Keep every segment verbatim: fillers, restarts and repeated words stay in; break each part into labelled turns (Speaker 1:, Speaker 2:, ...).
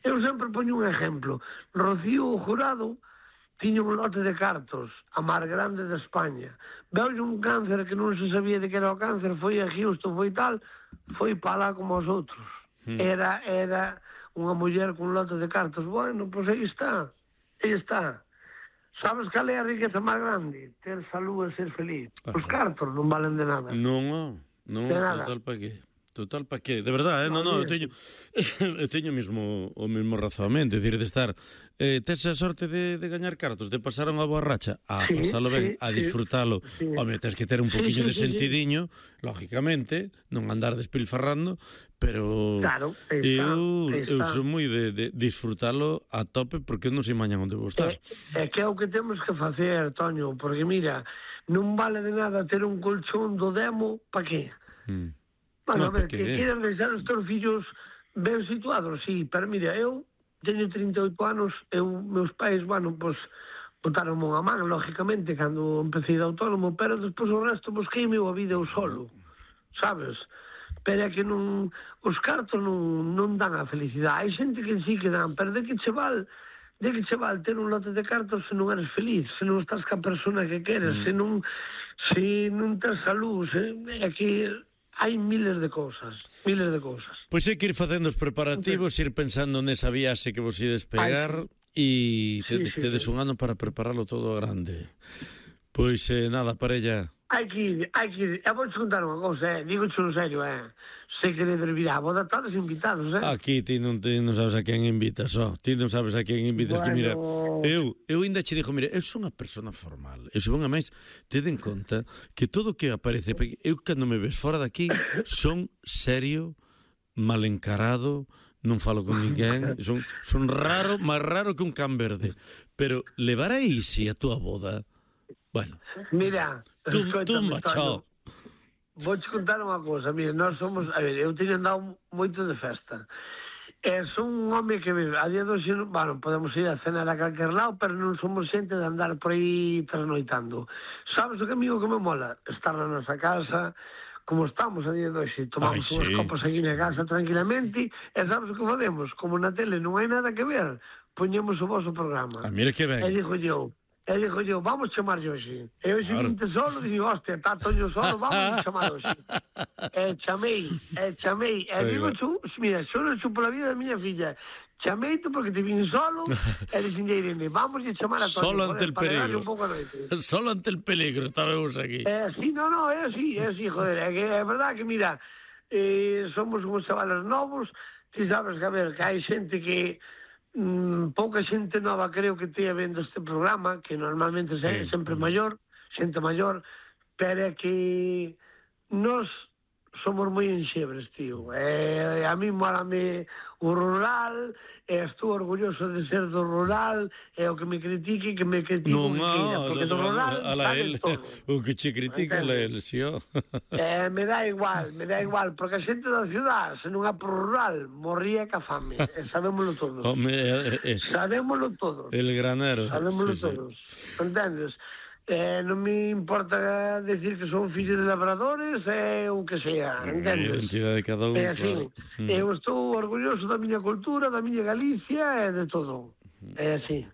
Speaker 1: Eu sempre poño un exemplo. Rocío Jurado tiña un lote de cartos, a máis grande de España. Veulle un cáncer que non se sabía de que era o cáncer, foi a Houston, foi tal, foi para lá como os outros. Mm. Era era unha muller con un lote de cartos. Bueno, pois aí está, aí está. Sabes cal é a riqueza máis grande? Ter salud e ser feliz. Ajá. Os cartos non valen de nada.
Speaker 2: Non, non, total pa que... Total, pa que? De verdade, eh? non, non, eu teño eu teño mesmo o mesmo razoamento, é dicir, de estar eh, tes a sorte de, de gañar cartos, de pasar unha boa racha, a sí, pasalo ben, sí, a disfrutalo, sí. Home, tens que ter un poquinho sí, sí, de sentidiño, sí, sí. Lógicamente, non andar despilfarrando, pero
Speaker 1: claro, está,
Speaker 2: eu,
Speaker 1: está.
Speaker 2: eu son moi de, de disfrutalo a tope, porque eu non sei mañan onde vou estar.
Speaker 1: É, é que é o que temos que facer, Toño, porque mira, non vale de nada ter un colchón do demo, pa que? Hmm. Bueno, no, a ver, que queren deixar os teus fillos ben situados, sí, pero mira, eu teño trinta e oito anos, eu, meus pais, bueno, pois, botaron unha man, lógicamente, cando empecé de autónomo, pero despois o resto busquei meu a vida eu solo, sabes? Pero é que non, os cartos non, non dan a felicidade, hai xente que sí que dan, pero de que che val, de que che val ter un lote de cartos se non eres feliz, se non estás ca persona que queres, mm. se non, se non tes salud, se, é que... hai miles de cousas, miles de cousas.
Speaker 2: Pois hai que ir facendo os preparativos, ir pensando nesa viaxe que vos ides pegar e te, sí, sí, tedes sí. un ano para prepararlo todo grande. Pois eh, nada, parella.
Speaker 1: Hai que ir, hai que ir. Eu vou te contar unha cousa, eh? Digo en serio, eh? Sei que debe vir a boda, todos invitados, eh?
Speaker 2: Aquí ti non, ti non sabes a quen invitas, ó. Ti non sabes a quen invitas, bueno... que mira... Eu, eu ainda che dixo, mira, eu son unha persona formal. Eu son a máis, tede en conta que todo o que aparece... Eu, cando me ves fora daqui, son serio, mal encarado, non falo con ninguén, son, son raro, máis raro que un can verde. Pero levar a Isi a túa boda... Bueno...
Speaker 1: Mira...
Speaker 2: Tú, tú machao.
Speaker 1: Vou te contar unha cousa, mira, nós somos... A ver, eu teño andado moito de festa. E son un home que, a día de hoxe, bueno, podemos ir a cenar a calquer lado, pero non somos xente de andar por aí trasnoitando. Sabes o que, amigo, que me mola? Estar na nosa casa, como estamos a día de hoxe, tomamos Ay, unhas sí. copas aquí na casa tranquilamente, e sabes o que facemos? Como na tele non hai nada que ver, poñemos o vosso programa.
Speaker 2: Ah, mira que ben.
Speaker 1: E dixo eu, e dixo eu, vamos chamar hoxe. E hoxe claro. vinte solo, e digo, hostia, está Toño solo, vamos chamar hoxe. E chamei, e chamei, e digo, chu, mira, solo chupo la vida da miña filla. Chameito porque te vin solo, e dixen a Irene, vamos a chamar a Toño.
Speaker 2: Solo ante el peligro. Solo ante el peligro, estábamos aquí.
Speaker 1: Eh, sí, no, no, é así, é así, joder, é que é verdad que, mira, eh, somos uns chavales novos, ti sabes que, a ver, que hai xente que... Mm, pouca xente nova creo que tea vendo este programa, que normalmente sí. é sempre maior, xente maior, pero é que nos somos moi enxebres, tío. E a mí mólame o rural, e estou orgulloso de ser do rural, e o que me critique, que me critique
Speaker 2: non,
Speaker 1: o que queira, porque do rural
Speaker 2: sabe todo. O que che critica a él, si, ó.
Speaker 1: Eh, me dá igual, me dá igual, porque a xente da ciudad, se non é por rural, morría ca fame, e sabémoslo todos.
Speaker 2: Home, eh, eh,
Speaker 1: sabémoslo todos.
Speaker 2: El granero.
Speaker 1: Sabémoslo
Speaker 2: sí,
Speaker 1: todos,
Speaker 2: sí.
Speaker 1: entendes? Eh, non me importa decir que son fillos de labradores e eh, o que sea, entendes?
Speaker 2: A identidade de cada un,
Speaker 1: é así.
Speaker 2: Claro.
Speaker 1: Eu estou orgulloso da miña cultura, da miña Galicia e de todo. É así.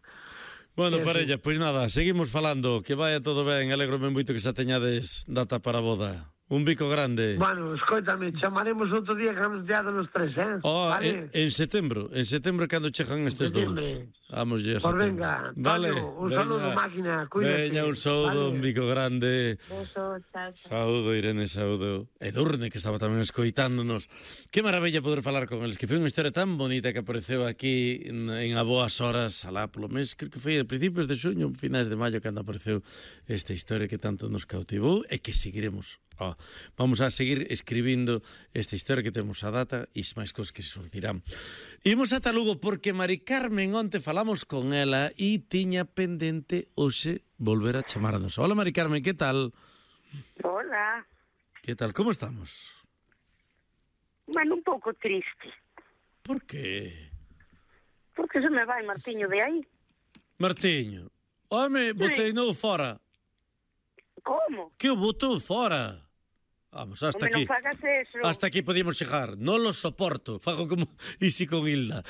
Speaker 2: Bueno, é parella, así. Pois nada, seguimos falando, que vaya todo ben, alegrome moito que xa teñades data para a boda. Un bico grande.
Speaker 1: Bueno, escoitame, chamaremos outro día que vamos teado nos tres, eh?
Speaker 2: Oh,
Speaker 1: vale?
Speaker 2: en, en setembro, en setembro cando chegan estes dous. Vamos ya a
Speaker 1: setembro. Pues venga, vale, Toño, un veña. Saludo, máquina, cuídate.
Speaker 2: Veña, un saúdo, vale. Un bico grande.
Speaker 3: Beso, chao, chao.
Speaker 2: Saúdo, Irene, saúdo. E Durne, que estaba tamén escoitándonos. Que maravilla poder falar con eles, que foi unha historia tan bonita que apareceu aquí en, en a boas horas, alá polo mes, creo que foi a principios de xuño, finais de maio, cando apareceu esta historia que tanto nos cautivou e que seguiremos. Oh, vamos a seguir escribindo esta historia que temos a data e máis cosas que se surdirán. Imos ata Lugo porque Mari Carmen onte falamos con ela e tiña pendente hoxe volver a chamarnos. Hola Mari Carmen, que tal?
Speaker 3: Hola.
Speaker 2: Que tal, como estamos?
Speaker 3: Bueno, un pouco triste.
Speaker 2: Por qué?
Speaker 3: Porque se me vai Martiño de aí.
Speaker 2: Martiño? Home, botei no fora.
Speaker 3: Como?
Speaker 2: Que o botou fora? Vamos, hasta
Speaker 3: Home,
Speaker 2: aquí.
Speaker 3: Non fagas eso.
Speaker 2: Hasta aquí podíamos chegar. Non lo soporto. Fago como Isi con Hilda.